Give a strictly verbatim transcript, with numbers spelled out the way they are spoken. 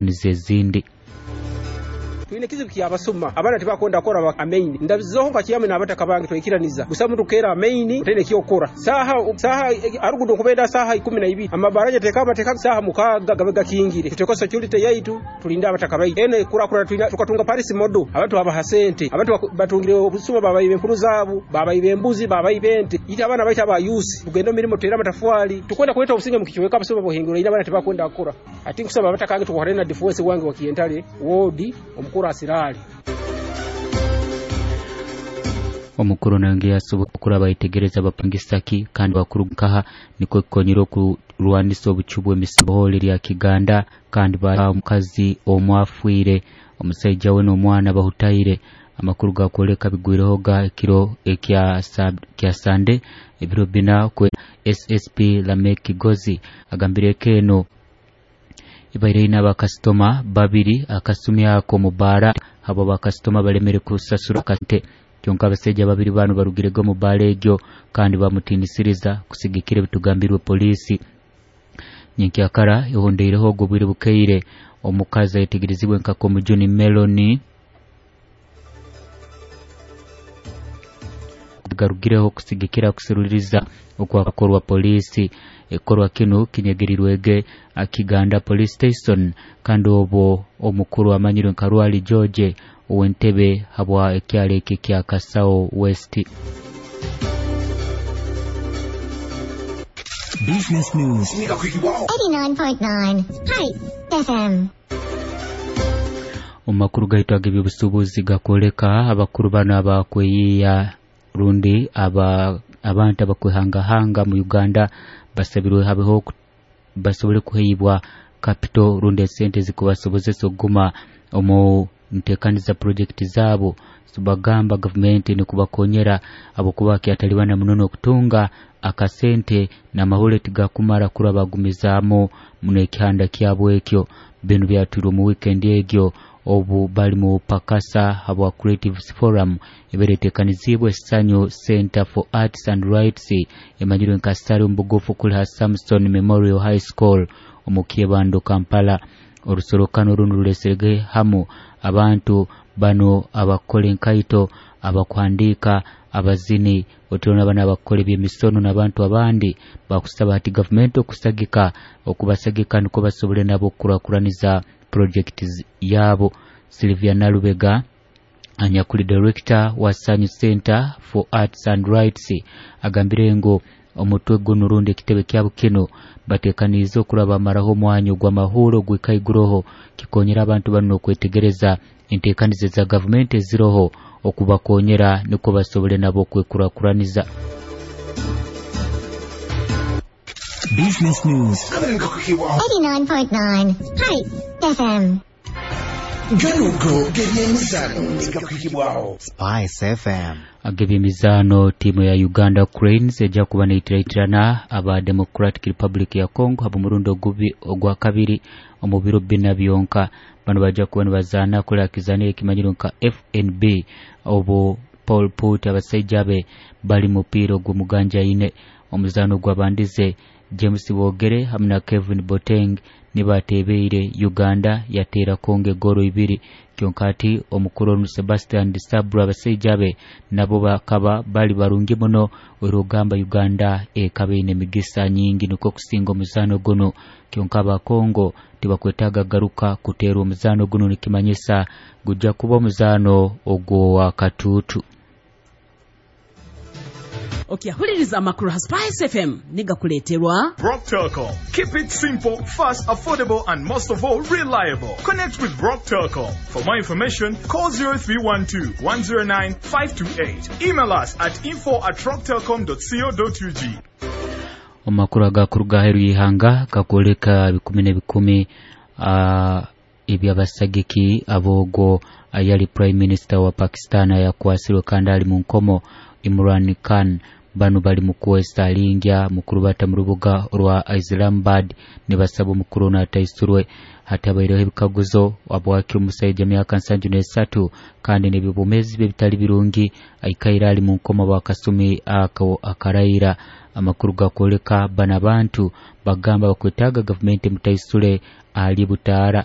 Ezindi. Twine kizibu kyabasuma, abaana tibakwenda kukora amaini. Ndabizeho nka kiyame n'abataka bange twikiraniza gusa mutukera amaini tene kyokora saha saha arugudo kubenda saha ikumi na ibiri, amabaraja teka bateka saha mukaga gabe gakingire, tuteko security yaitu, tulinde abataka baitu. Ene kurakura twina tukatunga Paris model, abantu abaha sente, abantu batungire obusuma, babayibe empuru zaabo, babayibe embuzi, babayibe ente. Ite abaana baita aba youth tugenda mirimo, tutera amatafwali, tukwenda kuleta obusinge mukichweka. Abasuma bohingura ina abaana tibakwenda kukora. Ati nkusaba abataka bange tukuhare na defense wange wa Kientale wodi omukuru asirali. Omukuru nange yasobola okuraba ayetegereza abapangisaki kandi bakuru nkaha nikwo kikonyera okurwanisa obucu bw'emisohole lya Kiganda. Kandi ba omukazi omwafiire, omusaija we n'omwana bahutaire. Amakuru gakwoleka bigwireho ekiro ekya kya Sande ebiro bina kwe. S S P Lamek Kigozi agambire eno ibaire ina abakasitoma babiri akasumi ako mubaara, abo bakasitoma balemere kusasura kate. Kyonka abasaija babiri bano barugirego mu baara egyo kandi bamutinisiriza kusigikira ebitugambirwe poliisi. Nyenkyakara ehondeireho ogwo bwire bukeire, omukazi ayetegerezibwe nka Komujuni Meloni garugireho kusigikira kusururiza okwakorwa poliisi. Ekikorwa kinu kinyegerirwege Kiganda Police Station, kandi obwo omukuru amanyirwe nka Rwali George ow'entebe habwa ekyalo eki kya Kasao West. Business News. eighty-nine point nine Hi F M. Omu makuru gaitu ag'ebyobusuubuzi gakwoleka abakuru bano abakweyiya rundi aba abantu abakwehangahanga mu Uganda basabirwe habeho basobole kuheibwa capital rundi esente zikubasobozesa okuguma omu ntekaniza project zaabo. Bagamba gavumenti nikubakonyera habwokuba kyatalibana muno n'okutunga akasente n'amahule tigakumara kuraba bagumizaamu muno ekihanda kyabo ekyo. Binu byatwirwe mu weekend egyo obu bali mu pakasa habwa Creatives Forum ebere etekanizibwe Sanyu Center for Arts and Rights, emanyirwe nka Sari omubugufu, kuli ha Samson Memorial High School omu Kyebando, Kampala. Orusorokano runu ruleserege hamu abantu bano abakora enkaito, abakuhandiika, abazini, otulona bano abakora ebyemisono n'abantu abandi. Bakusaba hati gavumenti okusagika okubasagika nukwo basobole nabo okukurakuraniza project yaabo. Sylvia Nalubega, anyakuli director wa Sanyu Center for Arts and Rights, agambire ngu omutwe guno rundi ekitebe kyabo kino batekaniize okuraba bamaraho omwanya ogw'amahuuro ogwikaiguroho, kikonyera abantu bano okwetegereza entekaniza za gavumenti eziroho okubakonyera nukwo basobole nabo okwekurakuraniza. Business News. eighty-nine point nine Hi F M. Ganugo gebyemizano gakwikibwaho Spice F M. Ag'ebyemizaano, tiimu ya Uganda Cranes ejja kuba neitiraitirana aba Democratic Republic ya Congo haba omurundi ogubi ogwa kabiri omu biro bina byonka. Bano bajja kuba nibazaana kuli akizaniro ekimanyirwe nka F N B, obu Paul Put abasaija be bali mupiira ogw'omuganja ine. Omuzaano gwabandize James Bogere hamwe na Kevin Boteng nibatebeire Uganda yateera Congo egoro ibiri. Kyonka ati omukuru onu Sebastian Desabre abasaija be nabo bakaba bali barungi muno, orugamba Uganda ekaba eine emigisa nyingi nukwo kusinga omuzaano guno. Kyonka aba Congo tibakwetaaga garuka kuteerwa omuzaano guno, nikimanyisa gujja kuba omuzaano ogwo katuutu. Okyahuliriza amakuru ha Spice F M nigakuleeterwa Rock Telcom. Keep it simple, fast, affordable, and most of all, reliable. Connect with Rock Telcom. For more information, call zero three one two one zero nine five two eight. Email us at info at rocktelcom dot co dot U G. Omu makuru agakuruga aheeru y'ihanga gakwoleka bikumi n'ebikumi uh, ebyabasagiki ab'ogwo ayali prime minister wa Pakistan ayakwasirwe kandi ali mu nkomo, Imran Khan. Bano bali mu kuwesa lingya mukurubata mu rubuga rwa Islamabad nibasaba omukuru ono ataisurwe. Hatabaireho ebikaguzo habwaki omusaija myaka nsanju n'esatu kandi n'ebyobwomeezi bye bitali birungi aikaire ali mu nkomo bwakasumi ako akaraira. Amakuru gakwoleka bano abantu bagamba bakwetaaga gavumenti emutaisule ali butaara.